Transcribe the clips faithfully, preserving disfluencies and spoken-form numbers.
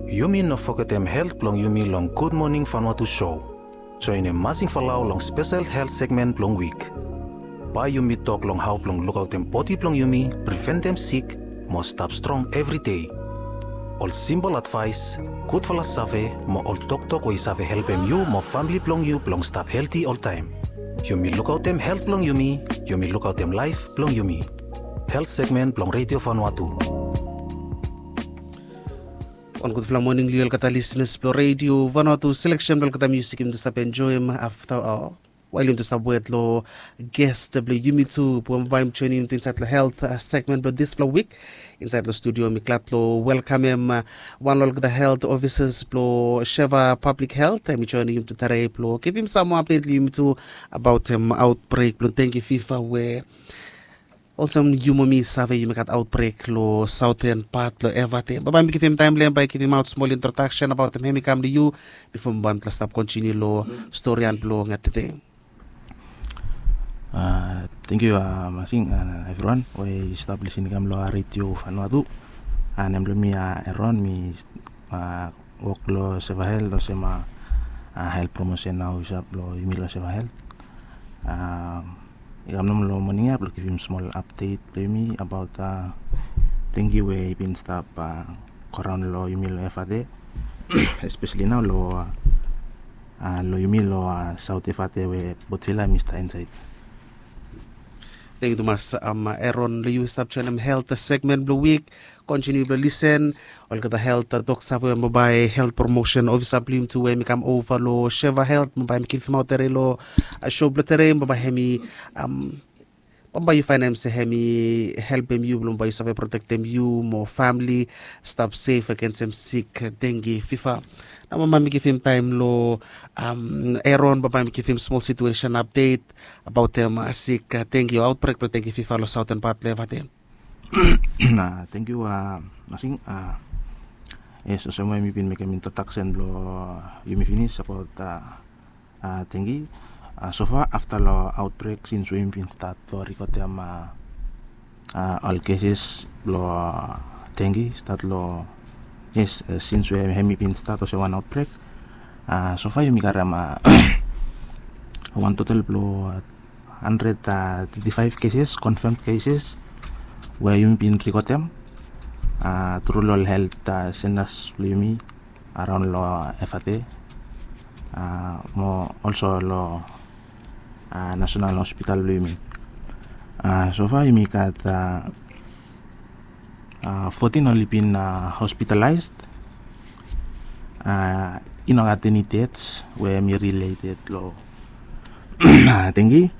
Yumi no fogetem helt blong yumi long Gud Moning Vanuatu show. Joenem Masing Falau long spesel helt segmen blong wik. Bae yumi tok long hao blong lukaotem bodi blong yumi, priventem sik, mo stap strong evri dei. Ol simpol advaes, gudfala save, mo ol toktok we i save helpem yu mo famle blong yu blong stap helti oltaem. Yumi lukaotem helt blong yumi, yumi lukaotem laef blong yumi. Helt segmen blong Redio Vanuatu. Wan gudfala moning long yu olgeta lisenas blong Redio Vanuatu. Seleksen blong olgeta musik yumi stap enjoem afta, wael yumi stap wet long ges blong yumi tu, we bae mi joenem yumi tu insaed long helt segmen blong disfala wik. Insaed long studio mi glad long welkamem wan long olgeta helt ofisas blong Sheva Public Health, hemi joenem yumi tu tede blong givim sam moa apdet long yumi tu abaotem aotbrek blong dengue fever we olsem yu mo mi save yumi gat aotbrek long saoten pat long Evate. Bae mi givim taem long hem bae givim aot smol introdaksen abaotem hemi kam long yu bifo bae mitla stap kontiniu long storian blong tede. Tangkiu Masing, evriwan we i stap lisin i kam long Redio Vanuatu. Nem blong mi Eron, mi wok long Sheva Health olsem helt promosen ofisa blong yumi long Sheva Health. I kam nomo long moning ya blong givim smol apdet blong yumi abaot dengue we i bin stap goraon long yumi long Evate, espeseli nao long long yumi long Saot Evate we Port Vila hemi stap insaed. Tangkiu tumas Eron, long yu we stap joenem helt segmen blong wik. Kontiniu blong lisen olgeta helt tok save we bambae helt promosen ofisa blong yumi tu we hemi kam ova long Sheva Health bambae hemi givimaot tede long show blong tede, bambae hemi bambae yu faenem se hemi helpem yu blong bambae yu save protektem yu mo famle stap sef agensem sik dengue fever. Nao bambae mi givim taem long Eron, bambae mi givim smol situesen apdet abaotem sik dengue o aotbrek blong dengue fever long saoten pat long Evate. Tangkiu Masing. Yes, olsem we mi bin mekem introdaksen blong yumi finis abaot dengue. Sofa afta long aotbrek sins we yumi bin stat long rikotem ol keses blong dengue stat long, yes, sins we hemi bin stat olsem wan aotbrek, sofa yumi karem wan total blong handred teti faef keses, konfam keses we yumi bin rikotem tru long ol helt sentas blong yumi araon long Evate mo olso long Nasenal Hospital blong yumi. Sofa yumi gat fotin oli bin hospitalaes. I no gat eni dets we hemi rileted long dengue.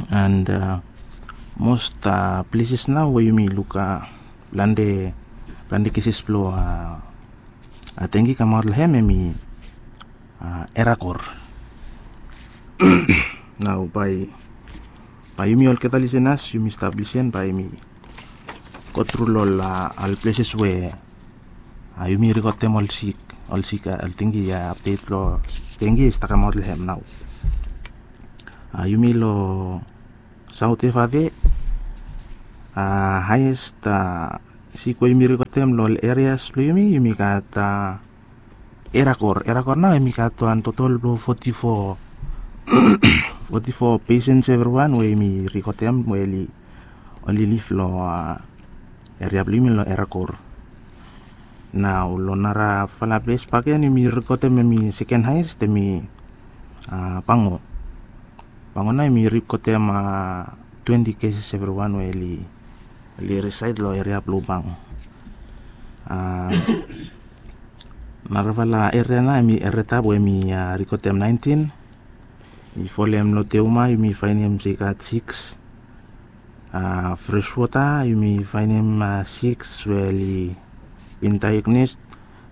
And mos pleses nao we yumi luk plante, plante keses blong dengue i kamaot long hem hemi Erakor. Nao bae, bae yumi olgeta lisenas yumi stap lisen bae yumi go tru long ol pleses we yumi rikotem ol sik, ol sik, ol dengue, apdet blong dengue i stap kamaot long hem nao. Yumi long Saot Evate, haes sik we yumi rikotem long ol erias blong yumi, yumi gat Erakor. Erakor nao hemi gat wan totol blong foti fo, foti fo pesens evriwan we yumi rikotem we oli, oli liv long eria blong yumi long Erakor. Nao long narafala ples bakegen yumi rikotem hemi seken haes hemi Bango. Bango nao yumi rikotem twenti keses evriwan we oli, oli risaed long eria blong Bango. Narafala eria nao hemi Eratap we yumi rikotem naentin. I folem long Teuma yumi faenem se i gat sikis. Freswota yumi faenem sikis we oli bin daeognes.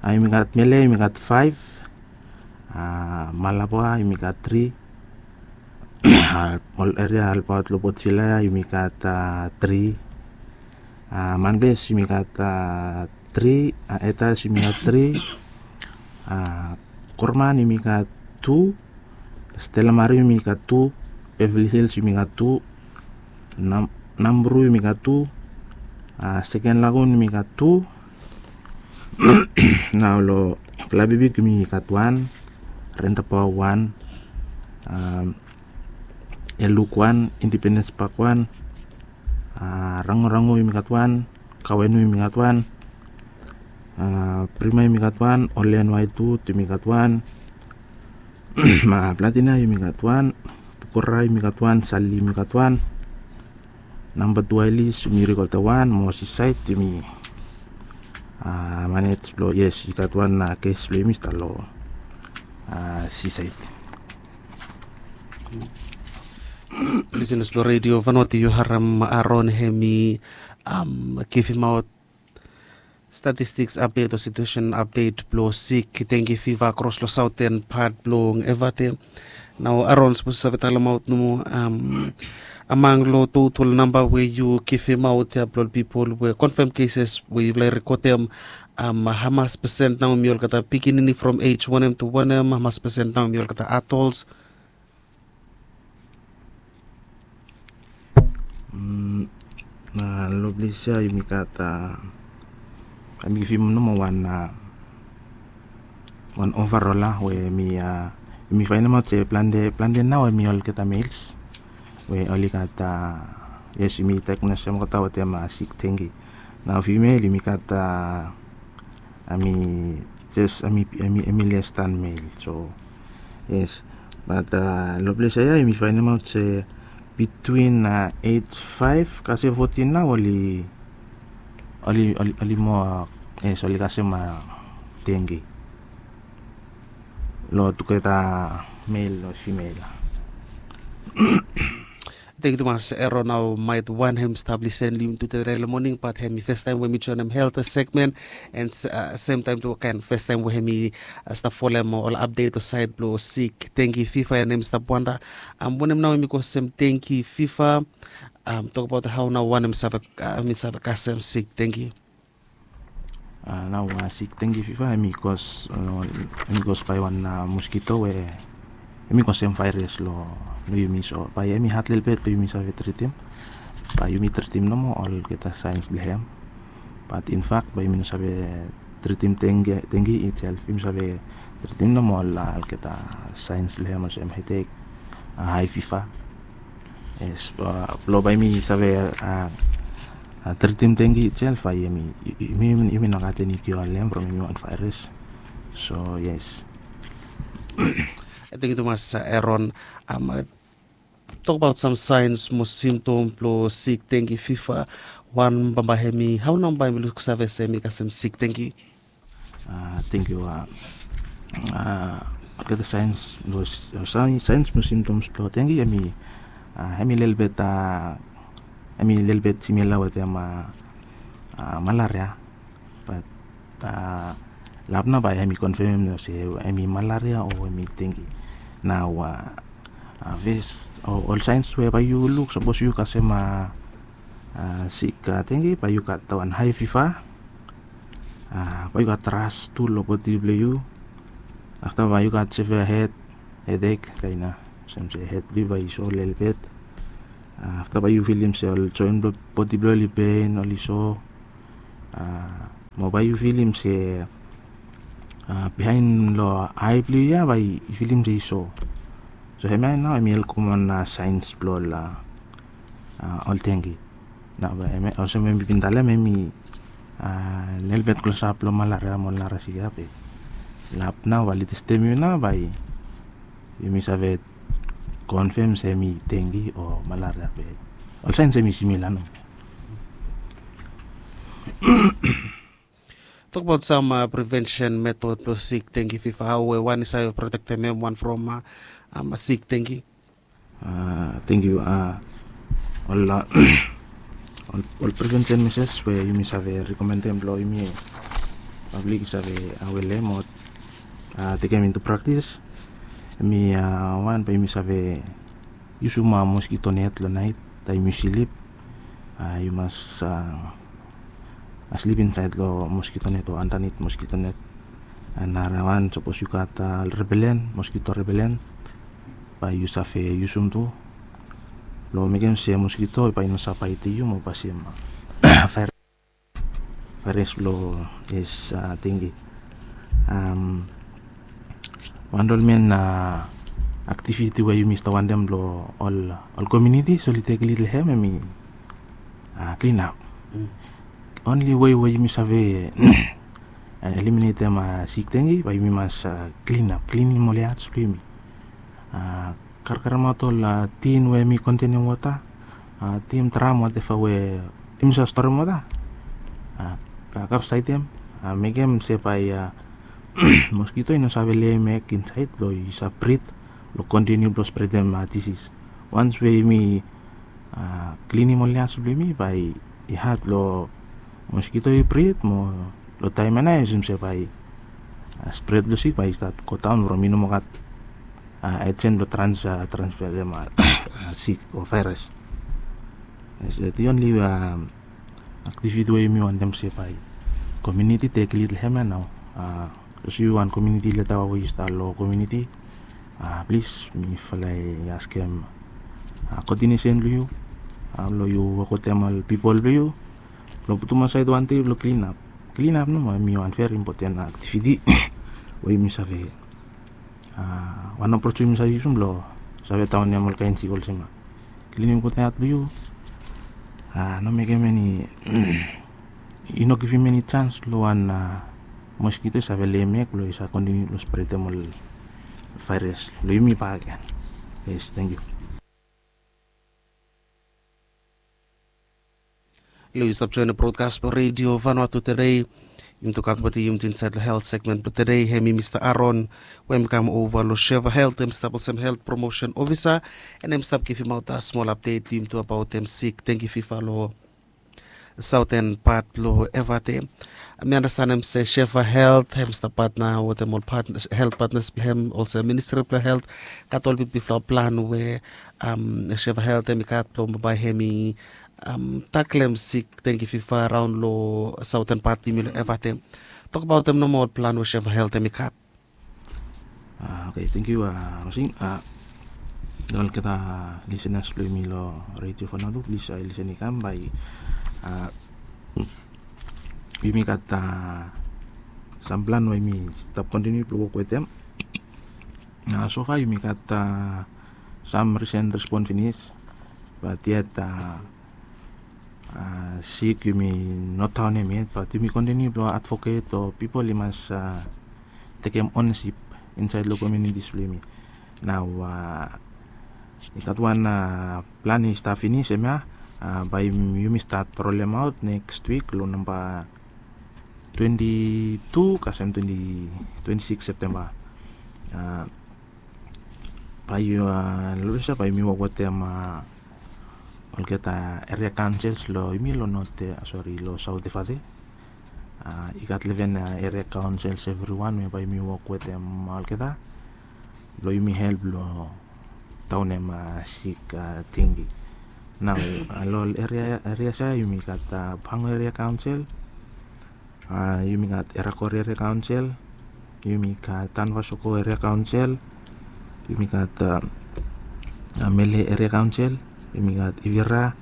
Yumi gat Mele yumi gat faef. Malaba yumi gat tri. Ol eria olbaot long Port Vila ya yumi gat tri. Manbes yumi gat tri. Etas yumi gat tri. Korman yumi gat tu. Stella Maris yumi gat tu. Beverly Hills yumi gat tu. Nambru yumi gat tu. Seken Lagun yumi gat tu. Nao long Klabibik yumi gat wan, Rentabawa wan, Eluk wan, Indipendens Pak wan, Rangorango yumi gat wan, Kawenu yumi gat wan, Prima yumi gat wan, Olen Waitut yumi gat wan, Platina yumi gat wan, Pukora yumi gat wan, Sali yumi gat wan, Namba Tu Ailis yumi rikot wan, mo Sisaed yumi manej blong, yes, i gat wan kes blong yumi stap long Sisaed. Lisenas blong Redio Vanuatu, yu harem Aron hemi givimaot statistiks apdet o situesen apdet blong sik dengi fiva kros long saoten pat blong Evate. Nao Aron sapos yu save talemaot nomo among long total namba we yu givimaot ya blong ol pipol we konfam keses we yufala i rekodem, hamas pesen nao hemi olgeta pikinini from ej wanem tu wanem, hamas pesen nao hemi olgeta adols? Long ples ya yumi gat, yumi givim nomo wan, wan overall ya we yumi, yumi faenemaot se plante, plante nao hemi olgeta males we oli gat, yes, yumi diagnosem olgeta wetem sik dengi. Nao fimeil yumi gat hemi jes hemi, hemi les dan mel. So yes, bat long ples ya yumi faenemaot se bitwin ej faef kasem fotin nao oli, oli, oli moa, yes, oli kasem dengi long tugeta mel o fimeil. Tengiu tumas Eron. Nao maet wan hem stap lisen long yumi tude long moning, bat hemi fastaem we mi joenem helt segmen, and semtaem tu kaen fastaem we hemi stap folem ol apdet o saed blong sik dengi fiva, and hemi stap wanda wanem nao hemi kosem dengi fiva. Tokbaot hao nao wan hemi save, hemi save kasem sik dengi. Nao sik dengi fiva hemi kos, hemi kos bae wan moskito we hemi kosem vaeras long, long yumi. So bae hemi had lelebet blong yumi save tritim. Bae yumi tritim nomo olgeta saens blong hem. Bat infak bae yumi no save tritim dengi, dengi itself. Yumi save tritim nomo ol, olgeta saens blong hem olsem hedek, hae fiva. Yes, blong bae yumi save tritim dengi itself, bae yumi, yumi, yumi no gat eni kio long hem from eni wan vaeras. So yes. Tengiu tumas Eron. Tokbaot sam saens mo simtom blong sik dengi fiva. Wan bambae hemi, hao nao bae yumi luksave se hemi kasem sik dengi? Tengiu. Olgeta saens, saens mo simtoms blong dengi hemi, hemi lelebet, hemi lelebet simila wetem malaria. Bat lap nao bae hemi konfamem se hemi malaria o hemi dengi. Nao fes, ol saens we bae yu luk sapos yu kasem sik dengi, bae yu gat wan hae fiva. Bae yu gat ras tu long bodi blong yu. Afta bae yu gat severe hed, hedek kaen ya, olsem se hed blong yu bae i so lelebet. Afta bae yu filim se ol joen blong bodi blong yu oli pen, oli so. Mo bae yu filim se biaen long ae blong yu ya bae yu filim se i so. So hemia nao hemi ol komon saens blong ol, ol dengi. Nao bae hemia olsem we mi bin talem hemi lelebet klosap long malaria mo ol nara sik ya be lap nao bae oli testem yu nao bae yumi save konfam se hemi dengi o malaria be ol saens hemi simila nao. Tokbaot sam prevensen metod blong sik dengi fiva, hao we wan i save protektem hem wan from sik dengi? Tengiu. Ol, ol prevensen meses we yumi save rekomendem blong yumi pablik i save awe long hem o tekem into praktis, hemi wan bae yumi save yusum moskito net long naet taem yu slip. Yu mas slip insaed long moskito net o andanit moskito net. Narawan sapos yu gat repelen, moskito repelen, bae yu save yusum tu blong mekem se moskito bae i no save baetem yu mo pasem vaeras. Faeres blong es, a, dengi. Wan long ol men aktiviti we yumi stap wantem blong ol komiuniti oli tek lid long hem hemi klinap. Onli wei we yumi save eliminetem sik dengi bae yumi mas klinap, klinim ol yats blong yumi. Karkaremaot ol tin we hemi kontenem wota, tin, dram, wateva we yumi save storem wota. Kapsaedem, mekem se bae moskito i no save leim eg insaed blong i save brit blong kontiniu blong spretem disis. Wans we yumi klinim ol yats blong yumi bae i had blong moskito i brit mo long taem ia nao yu si se bae spred blong sik bae i stat godaon from i no moa gat ejen blong trans, transferem sik o vaeras. Di onli aktiviti we yumi wantem se bae komiuniti tek lid long hem ia nao. Sapos yu wan komiuniti lida we yu stap long komiuniti, plis mifala i askem koordinesen blong yu blong yu wok wetem ol pipol blong yu blong putum asaed wan dei blong klinap. Klinap nomo hemi wan veri impoten aktiviti we yumi save wan apros we yumi save yusum blong save daonem ol kaen sik olsem ia klinim gud yat blong yu. No mekem eni, i no givim eni jans long wan moskito i save leim eg blong i save kontiniu blong spretem ol vaeras long yumi bakegen. Yes, tangkiu. Long yu stap joenem brodkas blong Redio Vanuatu tede, yumi tu gat wetem yumi tu insaed long helt segmen blong tede, hemi Mista Aron we hemi kam ova long Sheva Helt, hemi stap olsem helt promosen ofisa, and hemi stap givimaot smol apdet long yumi tu abaot hem sik dengi fiva long saoten pat blong Evate. Mi anastenem se Sheva Helt hemi stap patna wetem ol helt patnas blong hem olsem Ministri blong Helt, gat ol bigbigfala plan we Sheva Helt hemi gat blong bae hemi taklem sik dengi fiva raon long saoten pat blong yumi long Evate. Tokbaotem nomo ol plan we Sheva Helt hemi gat. Oke, tangkiu Rosing. Olgeta lisenas blong yumi long Redio Vanuatu, plis lisen i kam bae yumi gat sam plan we yumi stap kontiniu blong wok wetem. Sofa yumi gat sam risen respon finis, bat yet sik yumi no daonem yet, bat yumi kontiniu blong advoket o pipol i mas tekem onesip insaed long komiunitis blong yumi. Nao i gat wan plan i stap finis, hemia bae yumi stat rolemaot neks wik long namba twenti tu kasem twenti sikis Septemba. Bae yu long olsem bae yumi wok wetem olgeta eria kaonsels long yumi long not, sori, long saot Evate. I gat leven eria kaonsels evriwan we bae yumi wok wetem olgeta blong yumi help long daonem sik dengi. Nao long ol eria, erias ia yumi gat Pango Eria Kaonsel, yumi gat Erakor Eria Kaonsel, yumi gat Tanvasoko Eria Kaonsel, yumi gat Mele Eria Kaonsel, yumi gat Ivira,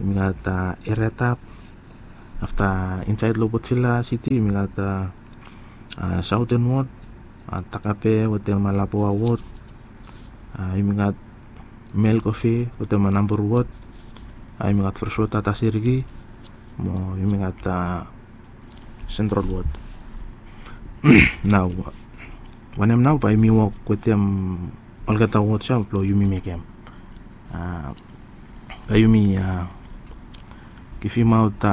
yumi gat Eria Tap. Afta insaed long Port Vila Siti yumi gat Saoten Wod, Takape wetem Laboa Wod, yumi gat Melkofe wetem Nambur Wod, yumi gat Freswota Tasiriki, mo yumi gat Sentral Wod. Nao wanem nao bae yumi wok wetem olgeta wod ia blong yumi mekem, bae yumi givimaot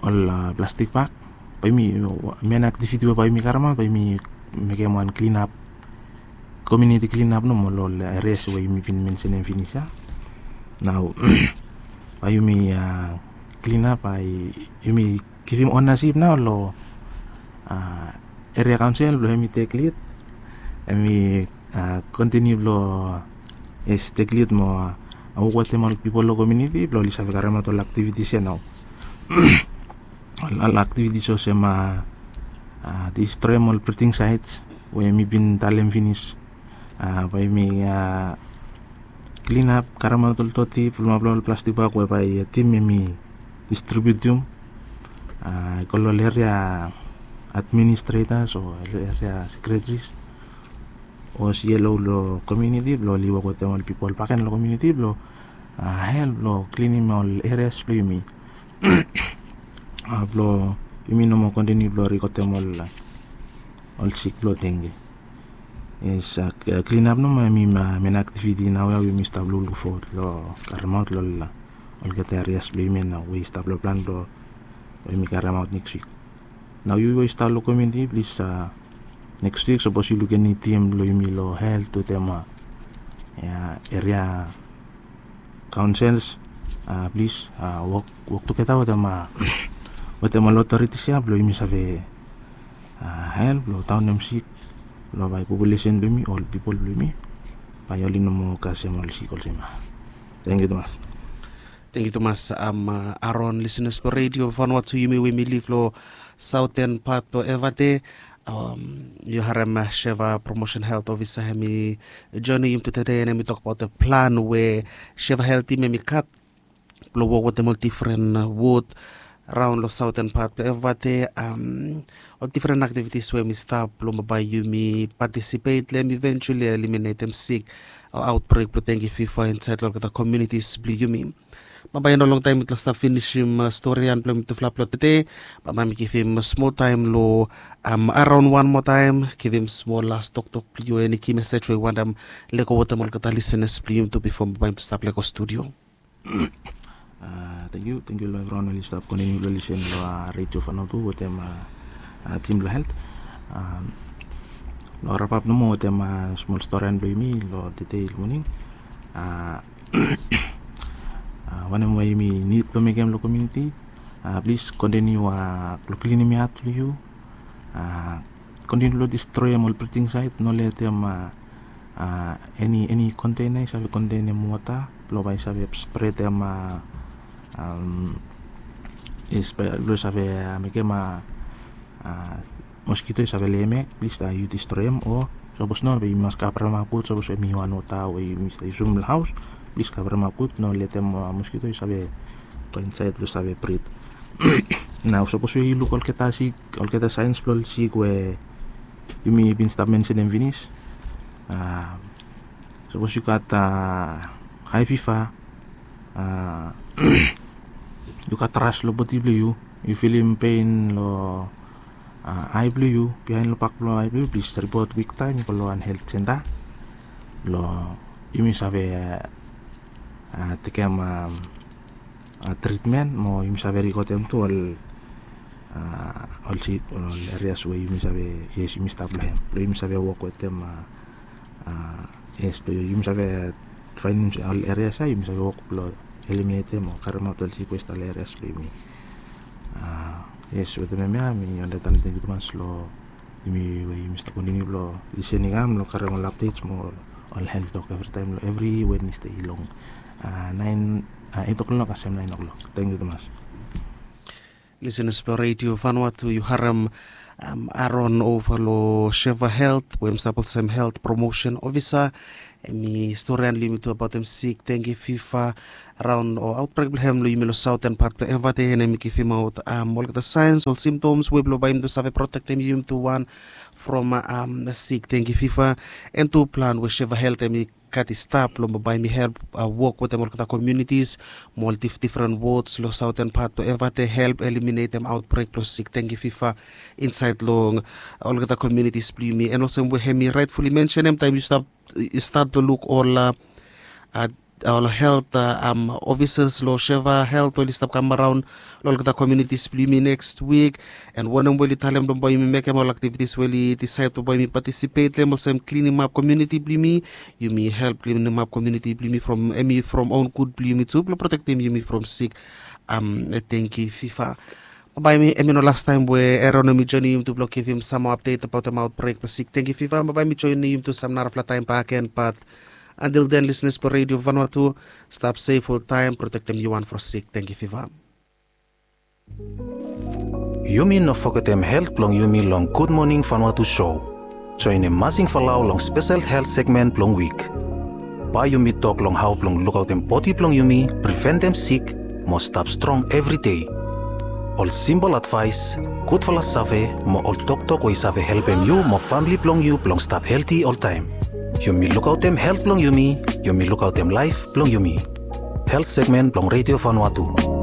ol plastik bag. Bae yumi, main aktiviti we bae yumi karemaot bae yumi mekem wan klinap, komuniti klinap nomo long ol erias we yumi bin mensenem finis ia. Nao bae yumi klinap, bae yumi givim onasip nao long eria kaonsel blong hemi tek lid, hemi kontiniu blong es tek lid mo wok wetem ol pipol long komuniti blong oli save karemaot ol aktivitis ia nao. Ol aktivitis olsem distroem ol briding saets we mi bin talem finis, bae mi klinap, karemaot ol toti, pulumap long ol plastik bag we bae tim hemi distribiutim. I go long ol eria administretas o eria sekretaris o sielo long komuniti blong oli wok wetem ol pipol baken long komuniti blong help long klinim ol erias blong yumi blong yumi no moa kontiniu blong rikotem ol sik blong denge. Yes, klinap nomo hemi main aktiviti nao ya we yumi stap lukluk fowod long karemaot long olgeta erias blong yumi nao we i stap long plan blong we yumi karemaot neks wik. Nao yu we i stap long komuniti plis neks wik sapos yu lukim eni tim blong yumi long helt wetem eria kaonsels, plis wok tugeta wetem ol otoritis ya blong yumi save help long daonem sik long bae populesen blong yumi, ol pipol blong yumi bae oli no moa kasem ol sik olsem ya. Tangkiu tumas. Tangkiu tumas. Aron, lisenas blong redio Vanuatu, yumi we yumi liv long saoten pat blong Evate, yu harem Seva Promotion Helt Ofisa hemi joinim yumi tede, and hemi tokbaot plan we Seva Helt tim hemi gat blong wok wetem ol difren wod raon long saoten pat blong Evate, ol difren aktivitis we hemi stap blong bae yumi patisipet long hem, iventuali eliminetem sik o aotbrek blong dengki fiva insaed long olgeta komunitis blong yumi. Bambae i no longtaem mitufala stap finisim storian blong mitufala blong tede. Bambae mi givim smol taem long Aron wan moa taem, givim smol las toktok blong yu, eni ki mesej we yu wantem lego wetem olgeta lisenas blong yumi tu bifo bambae mi stap lego studio. Tangkiu, tangkiu long evriwan oli stap kontiniu blong lisen long redio Vanuatu wetem tim blong helt. Long rapap nomo wetem smol storian blong yumi long tede long moning. Wanem we yumi nid blong mekem long komuniti, plis kontiniu long klinim yat blong yu. Kontiniu long distroem ol briding saet, no letem eni eni kontena i save kontenem wota blong bae i save spretem, blong i save mekem moskito i save lei hem ya, plis yu distroem. O sapos no, bae yumi mas kavremap gud, sapos hemi wan wota we yumi stap yusum long haos, plis kavremap gud, no letem moskito i save go insaed blong save brid. Nao sapos we yu luk olgeta sik, olgeta saens blong ol sik we yumi bin stap mensenem finis, sapos yu gat hae fiva, yu gat ras long bodi blong yu, yu filim pen long ae blong yu, biaen long bak blong ae blong yu, plis ripot kwiktaem go long wan helt senta blong yumi save tekem tritmen mo yumi save rikotem tu ol ol sik, ol erias we yumi save, yes, yumi stap long hem blong yumi save wok wetem. Yes, blong yumi save faenem ol erias ya yumi save wok blong eliminetem o karemaot ol sik we i stap long erias blong yumi. Yes, wetem hemia mi wantem talem tangkiu tumas long yumi we yumi stap kontiniu blong lisening kam long karem ol apdets mo ol helt tok evritaem long evri Wednesde long naen, eit oklok kasem naen oklok. Tangkiu tumas. Lisenas blong redio Vanuatu, yu harem Aron ova long Seva Helt we hem stap olsem Helt Promotion Ofisa. Hemi storian long yumi tu abaotem sik dengki fiva raon o aotbrek blong hem long yumi long saoten pat blong Evate, and hemi givimaot olgeta saens, ol simtoms we blong bae yumi tu save protektem yumi tu wan from sik dengki fiva, and tu plan we Seva Helt hemi gat i stap long bae hemi help wok wetem olgeta komunitis mo ol difdifren wods long saoten pat blong Evate, help eliminetem aotbrek blong sik dengki fiva insaed long olgeta komunitis blong yumi. And olsem we hemi raetfuli mensenem, taem yu stap, yu stat blong luk ol a ol helt ofisas long Seva Helt oli stap kam araon long olgeta komunitis blong yumi neks wik, and wanem we oli talem blong bae yumi mekem, ol aktivitis we oli disaed blong bae yumi patisipet long hem, olsem klinimap komuniti blong yumi. Yumi help klinimap komuniti blong yumi from, hemi from own gud blong yumi tu blong protektem yumi from sik dengki fiva. Bambae, hemi no lastaem we Aron hemi joinim yumi tu blong givim sam moa apdet abaotem aotbrek blong sik dengki fiva. Bambae mi joinim yumi tu sam narafala taem bakegen, bat antil den, lisenas blong redio Vanuatu, stap sef oltaem, protektem yu wan from sik dengki fiva. Yumi no fogetem helt blong yumi long Gud Moning Vanuatu sou. Joenem Masing Falau long spesel helt segmen blong wik. Bae yumi tok long hao blong lukaotem bodi blong yumi, priventem sik, mo stap strong evri dei. Ol simpol advaes, gudfala save mo ol toktok we i save helpem yu mo famle blong yu blong stap helti oltaem. Yumi lukaotem helt blong yumi, yumi lukaotem laef blong yumi. Helt segmen blong Redio Vanuatu.